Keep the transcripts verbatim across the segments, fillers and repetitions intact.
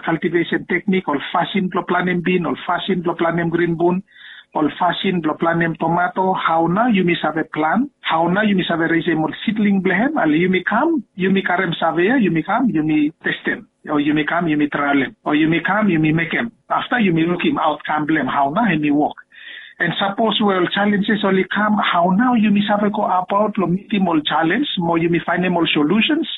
cultivation teknik, ol fasin blong planem bin, ol fasin blong planem grin bun, ol fasin blong planem tomato, hao nao yumi save plan, hao nao yumi save resem ol sidling blong hem. Ale yumi kam, yumi karem save ya, yumi kam yumi testem, o yumi kam yumi traelem, o yumi kam yumi mekem. Afta yumi lukim aotkam blong hem, hao nao hem i wok. And sapos we ol jalenjes oli kam, hao nao yumi save go abaot long mitim ol jalens mo yumi faenem ol solusens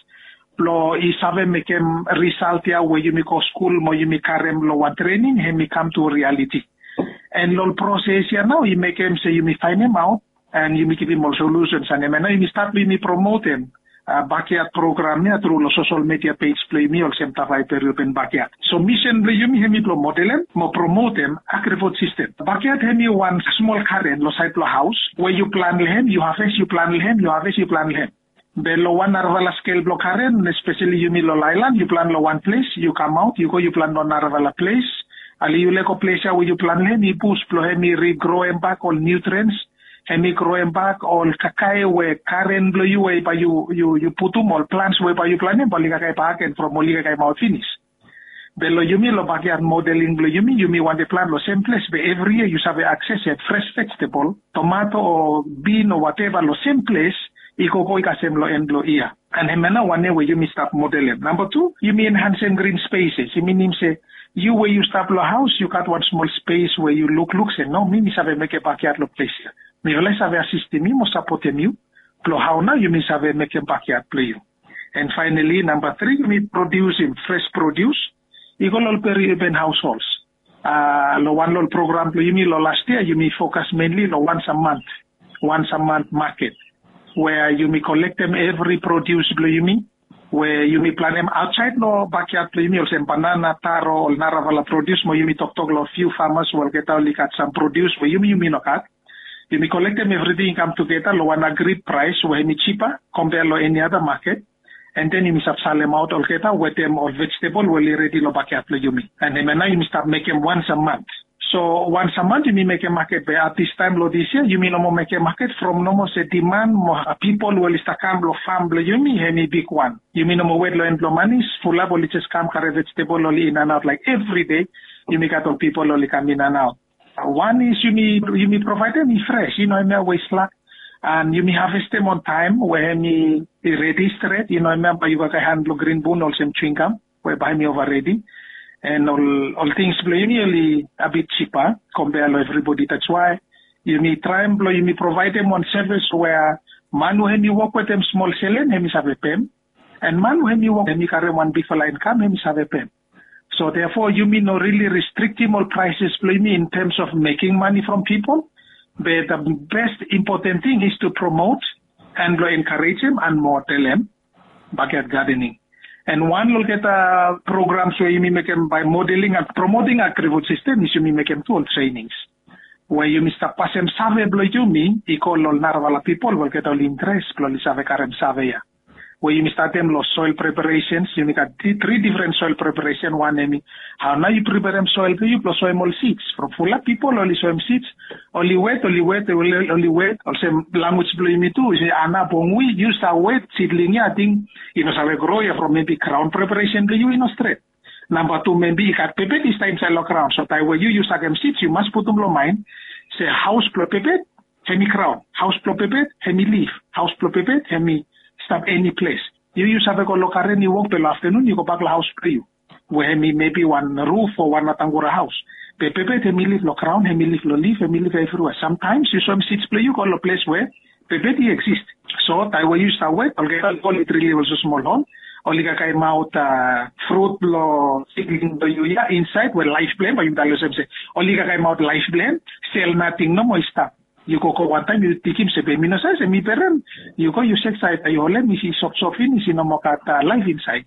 blong i save mekem risalt ya we yumi go skul mo yumi karem long wan trening hem i kam tu rialiti. And long ol proses ya nao i mekem se yumi faenemaot and yumi givim ol solusens, and hem ya nao yumi stat blong yumi promotem bakiat program ya tru long sosol media pej blong yumi olsem Tavai Periurban Bakiat. So misen blong yumi hem i blong modelem mo promotem agrifud sistem. Bakiat hem i wan smol garen long saed blong haos we yu plan long hem, yu haves, yu plan long hem, yu haves, yu plan long hem. Be long wan narafala skel blong garen, espeseli yumi long aelan, yu plan long wan ples, yu kamaot yu go yu plan long narafala ples. Ale yu lego ples ya we yu plan long hem i bus blong hem i rigroem bak ol nutriens, hem i groem bak ol kakae we garen blong yu we bae yu, yu putum ol plans we bae yu planem bae oli kakae bak gen from oli kakae maot finis. Be long yumi long bakiat modeling blong yumi, yumi wantem plan long sem ples be evri yia yu save akses hem fres vejetebol, tomato o bin o wateva long sem ples i gogo i kasem long en blong yia. And hem ya nao wan we yumi stap modelem. Namba tu, yumi enhansem grin speses. I minim se yu we yu stap long haos yu gat wan smol spes we yu lukluk se no, mi mi save mekem bakiat long ples ya. Mi oli save asistem yu mo sapotem yu blong hao nao yumi save mekem bakiat blong yu. And faenali namba tri, yumi produsim fres produs i go long ol periurban haoshols. Long wan long ol program blong yumi long las yia yumi fokas menli long wansam mant, wansam mant maket we yumi kolektem evri produs blong yumi we yumi planem aotsaed long bakiat blong yumi olsem banana, taro, ol narafala produs mo yumi toktok long fiu famas we olgeta oli gat sam produs we yumi yumi no gat. Yumi kolektem evriting i kam tugeta long wan agrid praes we hem i jipa kompea long eni ada maket. And then yumi stap salemaot olgeta wetem ol vejetebol we oli redi long bakiat blong yumi. And hem ya nao yumi stap mekem wansam mant. So wansam mant yumi mekem maket be at this taem long this yia yumi no moa mekem maket from no moa se diman mo pipol we oli stap kam long fam blong yumi hem i bigwan. Yumi no moa wet long en blong manis, fulap oli jes kam karem vejetebol oli inanaot laek evri dei. Yumi gat ol pipol oli kam inanaot. Wan is yumi, yumi provaedem i fres, i no hemia we i slak. And yumi havestem on taem we hem i redi stret, i no hemia bae yu kakae han blong grin bun olsem jwingam we bae hem i ova redi. And ol, ol tings blong yumi oli a bit jipa kompea long evribodi. That's why yumi traem blong yumi provaedem wan sevis we man we hem i wok wetem smol selen hem i save pem, and man we hem i wok hem i karem wan bigfala inkam hem i save pem. So therefore yumi no rili restriktim ol praeses blong yumi in terms of meking mane from pipol. Be the best impoten ting is to promot and blong enkarejem and modelem bakiat gadening. And wan long olgeta programs we yumi mekem bae modeling and promoting agrifud sistem is yumi mekem tu ol trenings we yumi stap pasem save blong yumi i go long ol narafala pipol we olgeta oli interes blong oli save karem save ya. We yumi statem long soel preparesens, yumi gat tri difren soel preparesen. Wan hem i hao nao yu preparem soel blong yu blong soem ol sids from fulap pipol oli soem sids, oli wet, oli wet, oli wet olsem lanwis blong yumi tu i se ana bongwi, yu stap wet sidling ya ating i no save gro ya from mebi graon preparesen blong yu i no stret. Namba tu, mebi i gat pepet i stap insaed long graon. So taem we yu yu sakem sids yu mas putum long maen se haos blong pepet hem i graon, haos blong pepet hem i lif, haos blong pepet hem i stap eni ples. Yu yu save go long garen i wok be long aftanun yu gobak long haos blong yu we hem i mebi wan ruf o wan atangura haos. Be pepet hem i lif long graon, hem i lif long lif, hem i lif evriwea. Samtaems yu soem sids blong yu go long ples we pepet i eksis. So taem we yu stap wet olgeta oli go oli drilim olsem smol hol, oli kakaemaot frut blong sidling blong yu ya insaed we laef blong hem bae yumi talem olsem se oli kakaemaot laef blong hem. Sel nating nomo i stap. Yu gogo wantaem yu tikim se be mi no save se mi berem. Yu go yu sek saed, yu holem i sofsof finis, i no moa gat laef insaed.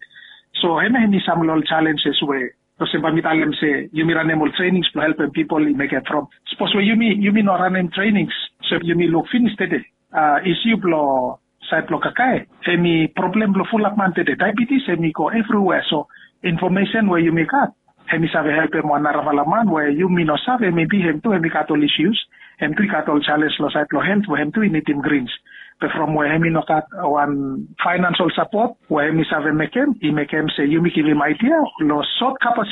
So hemia hem i sam long ol jalenjes we olsem bae mi talem se yumi ranem ol trenings blong helpem pipol i mekem from sapos we yumi yumi no ranem trenings. So yumi luk finis tede a isiu blong saed blong kakae, hem i problem blong fulap man tede. Daebetis hem i go evriwea. So infomesen we yumi gat hem i save helpem wan narafala man we yumi no save mebi hem tu hem i gat ol isius. Hem tu i gat ol jalens long saed blong helt we hem tu i nidim grins. Be from we hem i no gat wan faenansol sapot we hem i save mekem, i mekem se yumi givim aidia long sot kapas